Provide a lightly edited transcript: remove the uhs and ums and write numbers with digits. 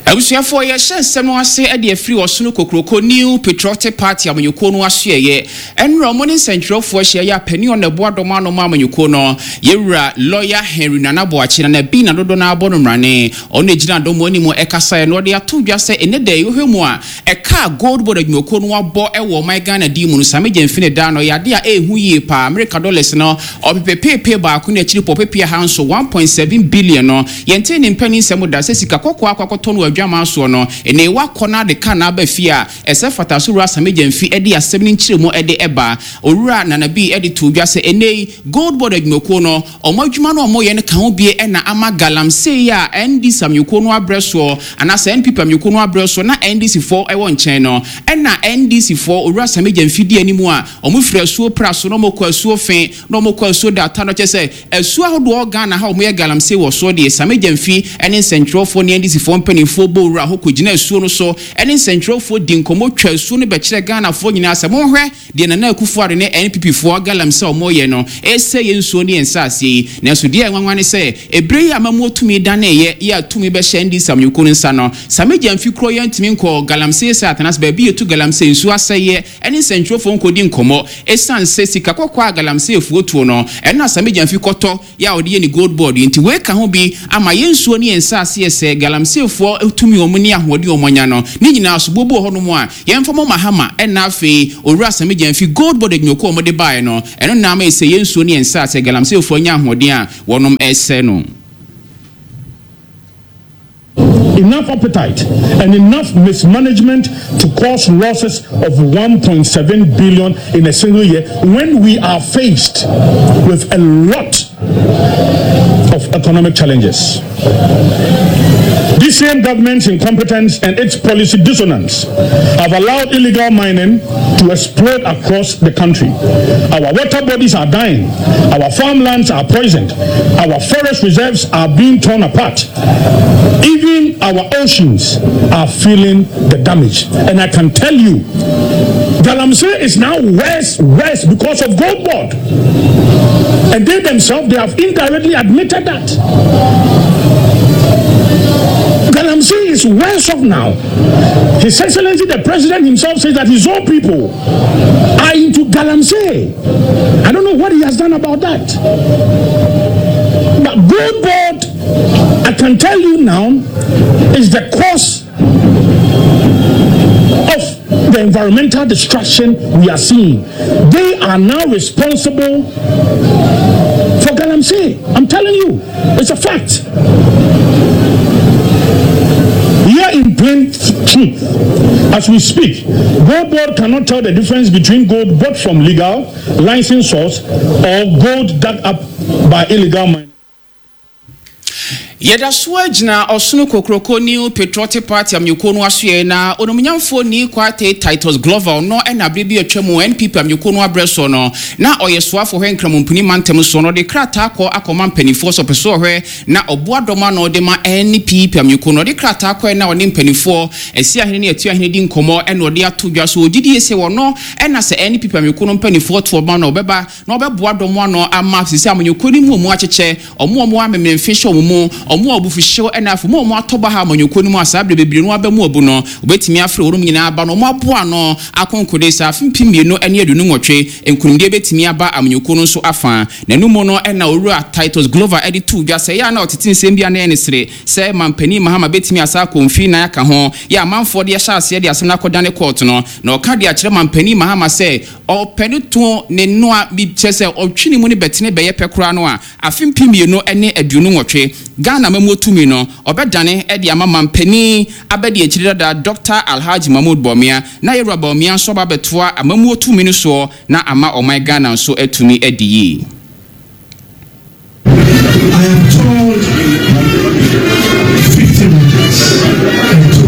Abusuafoɔ, yɛhyɛ nsɛm no ase de afiri Ɔsono Kokroko New Patriotic Party amanyɔkuo no asoɛeɛ. Ɛnora ɔmo ne nsɛntwerɛfoɔ ahyia yɛ a panin ɔna ɛboa dɔm ano ma amanyɔkuo no, Yɛwura Lawyer Henry Nana Boakye, Nana Bi na dodoɔ no ara bɔ no mmrane. Ɔno na ɛgyina dɔm anim ɛkasaeɛ na ɔde ato dwa sɛ ɛnnɛ da yi wohwɛ mu a ɛka a Gold Board adwumakuo no abɔ wɔ ɔman Ghana din mu no Same Gyamfi ne da no ɔyɛ adeɛ a ɛɛhu yie paa. Amerika dɔlɛs no ɔpepepeepee baako ne akyiri pɔ ɔpepe ahanso, 1.7 billion, no yɛntee ne mpanin nsɛm da sɛ sika kɔkɔɔ akɔ akɔtɔ no wɔ adwaman soɔ no ɛnɛ wakɔ na ade ka na aba fie a ɛsɛ fata so Owura Same Gyamfi de asɛm no nkyerɛmu de ba. Owura Nana Bii de too dwa sɛ ɛnnɛ yi Gold Board adwumakuo no Wɔn adwuma no a wɔyɛ no ka ho bie na ama galamsey a NDC amanyɔkuo no abrɛ soɔ anaasɛ NPP amanyɔkuo no abrɛ soɔ na NDC foɔ wɔ nkyɛn no ɛna NDC foɔ Owura Sammy Gyamfi di anim a wɔn firi asuo pra so na wɔn kɔ asuo fe na wɔn kɔ asuo data no kyerɛ sɛ asuo ahodoɔ wɔ Ghana ha a wɔn yɛ galamsey wɔ soɔ deɛ Sammy Gyamfi ne nsɛntwerɛfoɔ ne NDC foɔ mpaninfoɔ bɔ wura hɔ kɔ gyina asuo no so ne nsɛntwerɛfoɔ di nkɔmmɔ twa asuo no bɛkyerɛ Ghanafoɔ nyinaa sɛ monhwɛ Deɛ Nana Akufo Addo ne NPP foɔ galamsey a wɔreyɛ no resɛe yɛn nsuo ne yɛn nsaaseɛ yi. Nanso deɛ ɛyɛ nwanwa ne sɛ, ɛberɛ yi a amammuo tumi daneeɛ yi a tumi bɛhyɛɛ NDC amanyɔkuo no nsa no, Sammy Gyamfi korɔ yi antumi nkɔɔ galamsey site anaasɛ baabi a yɛtu galamsey, nsuo asɛeɛ ne nsɛntwerɛfoɔ nkɔdi nkɔmmɔ. Ɛsiane sɛ sika kɔkɔɔ a galamseyfoɔ tuo no, ɛno na Sammy Gyamfi kɔtɔ yɛ a ɔde yɛ ne gold board yi nti wei ka ho bi ama yɛn nsuo ne yɛn nsaase yɛ sɛ galamseyfoɔ tumi wɔn ne ahoɔden wɔn anya no ne nyinaa so boɔ bi wɔ hɔ nom a yɛmfa mɔ Mahama ɛna afei Owura Sammy Gyamfi gold board adwumakuo a wɔde baeɛ no ɛno na ama ɛsɛ yɛn nsuo ne yɛn nsaase galamseyfoɔ anya ahoɔden a wɔnom ɛsɛ no. Enough appetite and enough mismanagement to cause losses of 1.7 billion in a single year when we are faced with a lot of economic challenges. This same government's incompetence and its policy dissonance have allowed illegal mining to explode across the country. Our water bodies are dying, our farmlands are poisoned, our forest reserves are being torn apart. Even our oceans are feeling the damage. And I can tell you, Galamsey is now worse, worse because of Gold Board. And they themselves, they have indirectly admitted that. Galamsey is worse off now. His Excellency the President himself says that his own people are into Galamsey. I don't know what he has done about that. But Gold Board, I can tell you now, is the cause of the environmental destruction we are seeing. They are now responsible for Galamsey. I'm telling you, it's a fact. Here in plain truth, as we speak, gold board cannot tell the difference between gold bought from legal licensed source or gold dug up by illegal miners. Yɛda so ara gyina Ɔsono Kokroko New Patriotic Party amanyɔkuo no asoɛe na Onumnyamfoɔ Nii Kwartei Titus Glover ɔno na berɛ bi a atwa mu NPP amanyɔkuo no abrɛ soɔ no na ɔyɛ soafoɔ hwɛ Nkramompini mantam soɔ no ɔde krataa kɔ akɔma mpaninfoɔ sɛ ɔpɛ sɛ ɔhwɛ na ɔboa dɔm ano de ma NPP amanyɔkuo no ɔde krataa kɔɛ na ɔne mpaninfoɔ Asiahene ne Atuahene di nkɔmmɔ na ɔde ato dwa so ɔgyidie sɛ ɔno na sɛ NPP amanyɔkuo no mpaninfoɔ to ɔba no a ɔbɛba na ɔbɛboa dɔm ano ama sisi amanyɔkuo no mu ɔmu akyekyɛ, ɔmo a ɔmo amemenemfe hyɛ ɔmo mu, ɔmo a abufuhyew ɛna afei ɔmo a ɔmo atɔ baha amanyɔkuo no mu a saa berɛ bebree no aba mu abu no, wɔbɛtumi afrɛ wɔnom nyinaa aba na ɔmo aboa ano akonkode sɛ afe 2028 nkunimdie bɛtumi aba amanyɔkuo no nso afa. N'ano mu no na Owura Titus Glover de too dwa sɛ ɛyɛ a na ɔtete nsɛm bi a na ɛyɛ ne sere sɛ Manpanin Mahama bɛtumi asan akɔ mfiri nan aka ho yɛ amanfoɔ de ahyɛ aseɛ de asɛm no akɔdane kɔɔto no na ɔka de akyerɛ Manpanin Mahama sɛ Ɔpɛ no to ne noa bi kyerɛ sɛ ɔtwe ne mu no bɛtene bɛyɛ pɛ koraa no a, afe 2028 Ghana amammuo tumi no, ɔbɛdane de ama mampanin abadiakyiri dada Dɔkta Alhaji Mahmood Bawumia na Yɛwura Bawumia nso aba abɛtoa amammuo tumi no soɔ na ama ɔman Ghana nso atumi adi yie. I am told 50 meters.